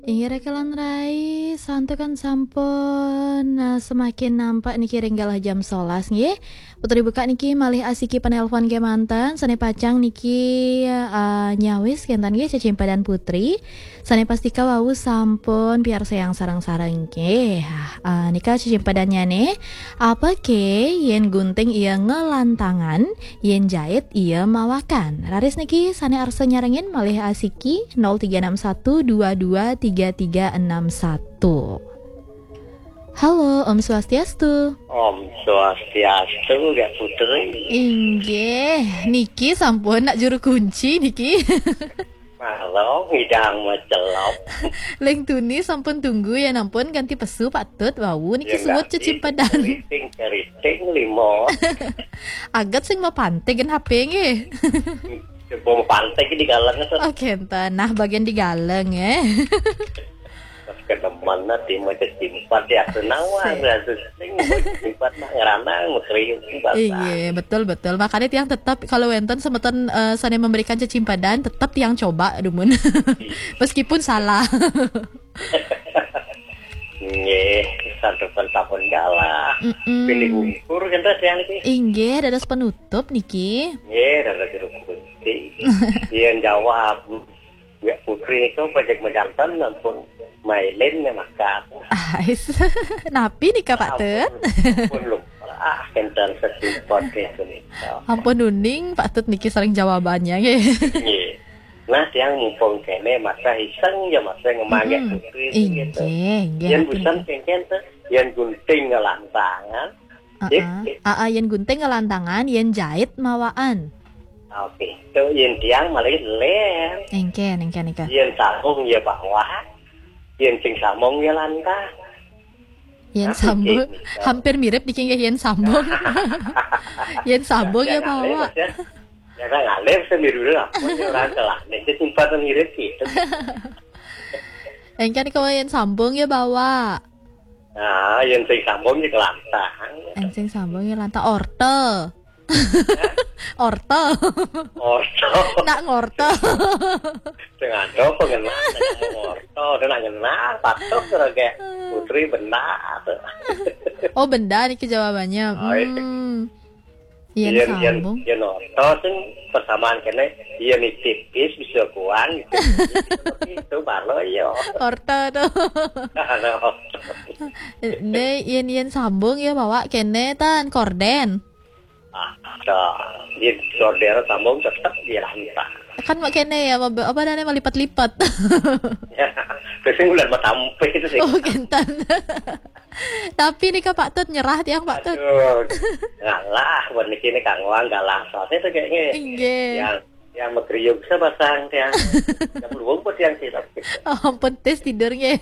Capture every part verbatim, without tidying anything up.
Inggih raka lan rai, santukan sampun, eh, semakin nampak niki ring galah jam solas nggih. Putri buka niki malih asiki panelpon kemanten, sane pacang niki, eh, nyawis kenten nggih cecimpadan Putri. Sane pastika wau sampun piarsayang sareng-sareng nggih. Eh, nika cecimpadannyane, apa ke yen gunting iya ngelantangan, yen jait iya mawakan. Raris niki sane arsa nyarengin malih asiki nol tiga enam satu dua dua tiga tiga enam satu. Halo, Om Swastiastu. Om Swastiastu, Kak Putri. Inggih, niki sampun nak juru kunci niki. Malam ngidang macelop. Leng tuni sampun tunggu ya nampun ganti pesu patut wau niki. Ya, suwut nggak, cecimpadan. Keriting, keriting, limo. Agat sing mapante gen H P nggih. Coba mapante di galeng, Sir. Oh, kenten. Nah, bagian di galeng, eh. Pas kedemen nanti mau cecimpat ya, senang wah, sing. Rasa sing, mau cecimpat mah ngeranang, mau kriuk, basah. Iya, betul, betul. Makanya tiang tetap kalau wenten semeton, eh, sane memberikan cecimpadan, tetap tiang coba, dumun. Iya. Meskipun salah. Nggih, santukan sampun galah. Mm-mm. Pilih bungkur, kan, Ras, yang niki? Inggih, dados penutup niki. Nggih, dados juru kunci. Yen jawab, ya, Putri niku pajak mejanten, ampun mailin ya, maka. Ais. Napi nika, Pak Tut? Ampun, ampun, lupa. Ah, kenten setimpot ya, punika. Ampun uning, Pak Tut niki sareng jawabannya, nggih. Nggih. Nah, tiang mumpung kene, masa iseng ya, masa ngemangke. Mm-mm. Putri, gitu. Inggih, inggih, yen atur busan nggih. Kengken tuh, yen gunting ngelantangan. Heeh. Sip, sip. Heeh, yen gunting ngelantangan, yen jait mawaan. Oke, tuh yen tiang malih len. Engken, engken, engken. Yen sambung ya bawa, yen sing sambung ya lantah. Yen sambung, hampir mirip niki nggih, yen sambung. Yen sambung ya bawa. Ya, kan ngalir sendiri dulu lah. Pun orang telah. Nek simpan mirip gitu. Engken kalau yen sambung ya bawa. Nah, yen sing sambung ya kelantang. Yen sing sambung ya lantang orte. Orto. Orto. Nak ngorto. Sing ada pengenal, nak ngorto, ada nak ngenal, patuh terus kayak Putri benda tuh. Oh, benda niki jawabannya. Oh, iya. Hmm. Yen sambung. Yen orto sing persamaan kene, yen tipis bisa kuan, gitu. Itu baru yo. Orto tuh. Ada orto. Ne, yen, yen sambung ya bawa kene tan korden. Ah, dah. Di order sambung tetap di lantai. Kan mak kene ya, apa, apa namanya, melipat-lipat. Ya, terus yang udah mau tampil itu sih. Oh, kenten. Tapi nih, Kak, Pak Tut nyerah tiang, Pak Tut. Aduh, ngalah, buat niki ini Kang Wang, galah. Soalnya itu kayaknya inggih. Yang, yang megriuk saya pasang tiang. Yang belum buat yang sih, tapi. Oh, ampun, tes tidurnya.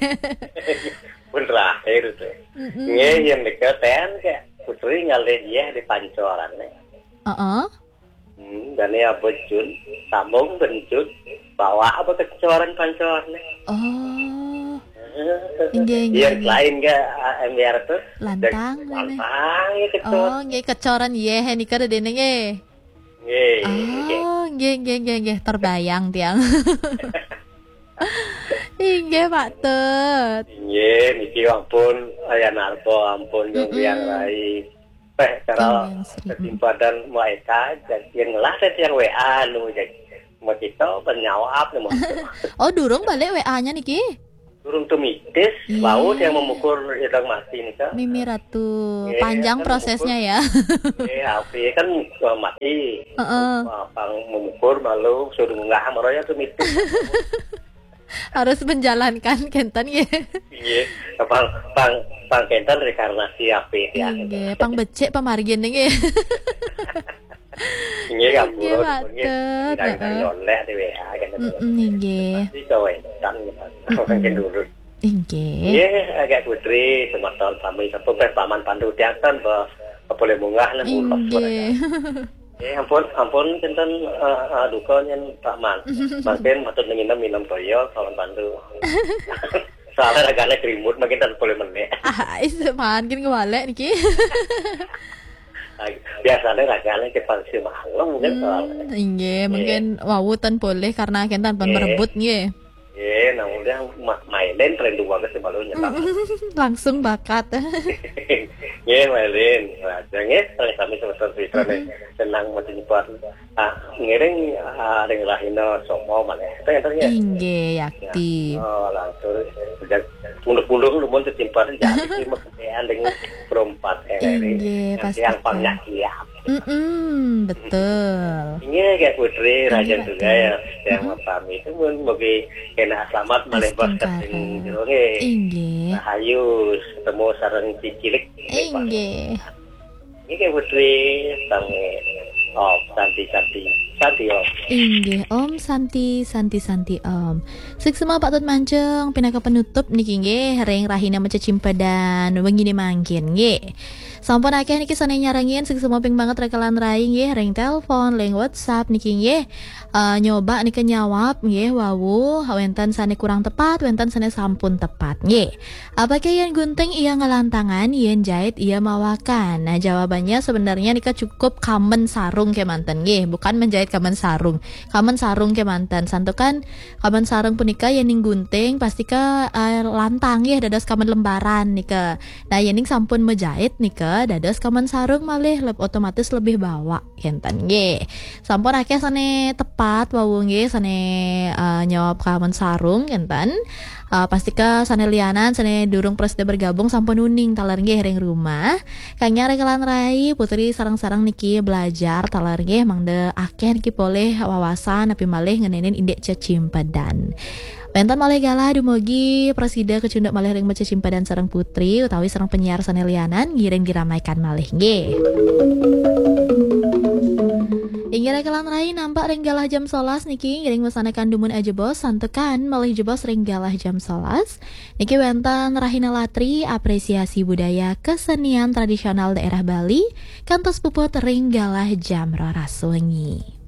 Pun terakhir itu. Mm-mm. Nggih, yang dekat ten, kayak Putri ngalih ya di pancoran nih. Heeh. Hmm, dan ya bejun, sambung benjut, bawa apa kecoran pancoran nih. Oh. Eh, inggih, inggih, yang inggih. Lain ke, ah, M B R tuh, lantang, lantang ya kecoran. Oh, nggih, kecoran, iya, nika ada dene, nggih. Nggih, nggih. Oh, nggih, nggih, nggih, nggih. Terbayang tiang. Inggih, Pak Tut. Inggih, niki ampun, Ayah Narko, ampun, mm-mm. Yang lain. Teh, cara kesimpadan Mbak Eka, jadi yang ngelah teh yang W A nu, jadi mau kita penjawab nih, mau. Oh, durung balik W A-nya niki? Durung tumitis, iya. Laut yang memukur hidang mati nih, Kak. Mimi Ratu, iya, panjang kan prosesnya memukur, ya. Iya, api kan, eh, mati. Heeh. Pang memukur malu, suruh nggak meroyok tumitis. Harus menjalankan kenten ya. Iya, pang, pang, pang kenten reinkarnasi api ya. Iya, pang becik pamargin nggih. Inggih, ampun, Pak Tut. Heeh. Oleh di W A kan. Mm-mm, inggih. Pasti kawentan gitu. Makin dulu. Inggih. Inggih, agak Putri, semeton sami sampun peh Paman Pandu tiang kan, bah, boleh munggah nang ulos. Inggih. Eh, ampun, ampun, kenten, eh, eh, duka nyen Paman. Makin patut nginem minum toyo, Paman Pandu. Soalnya ragane krimut, makin tak boleh menek. Ah, is, makin kewalek niki. Biasanya ragane ke pangsi malam kan. Hmm, soalnya. Inggih, iya. Mungkin wau ten boleh karena kenten pun merebut nggih. Nggih, Nah, udah ma- mailin tren dua ke sebelumnya, Pak. Langsung bakat. Nggih, mailin. Nah, nggih, sami semeton Fitra nih. Senang mboten nyebut. Ah, ngiring ah, ring rahina somo malih. Enten, enten, nggih. Inggih, yakti. Oh, langsung sejak mundur-mundur lumun setimpar jadi mesti mektean dengan perempat. Inggih, pasti. Yang pangnya kiap. Mm-mm, betul. Inggih, Kak Putri, Inggih, raja Pak juga Tri. Ya, yang pertama itu pun bagi kena selamat malih bos Astungkara. Keting Jero, nggih. Inggih. Rahayu ketemu sareng cicilik. Inggih. Inggih, Kak Putri, sami. Oh, santi, santi. Santi, Om. Inggih, Om Santi, Santi, Santi, Om. Suksma Pak Tut Mancung, pinaka penutup niki nggih, ring rahina macecimpedan wengine mangkin nggih. Sampun akeh niki sane nyarengin, suksma ping banget rekelan rai nggih, ring telepon, ring WhatsApp niki nggih. Eh, nyoba nika nyawab nggih, wau wenten sane kurang tepat, wenten sane sampun tepat nggih. Apakah yen gunting ia ngelantangan, yen jahit ia mawakan? Nah, jawabannya sebenarnya nika cukup kamen sarung kemanten nggih, bukan menjahit kamen sarung. Kamen sarung kemanten. Santukan kamen sarung punika yen ning gunting pastika eh, lantang nggih dados kamen lembaran nika. Nah, yen ning sampun menjahit nika dados kamen sarung malih leb- otomatis lebih bawa kenten nggih. Sampun akeh sane tepat wau nggih, sane eh, nyawab kamen sarung kenten. Eh, pastika sane lianan, sane durung prasida bergabung sampun uning taler nggih ring rumah. Kang nyare kelan rai, Putri sareng-sareng niki belajar taler nggih, mangda akeh niki polih wawasan napi malih ngenenin indik cecimpedan. Wenten malih galah dumugi prasida kecunduk malih ring cecimpedan sareng Putri utawi sareng penyiar sane lianan ngiring diramaikan malih nggih. Inggih rekelan rai nampak ring galah jam sebelas niki ngiring mesanakan dumun ajebos santukan malih jebos ring galah jam sebelas. Niki wenten rahina latri apresiasi budaya kesenian tradisional daerah Bali kantos puput ring galah jam roras wengi.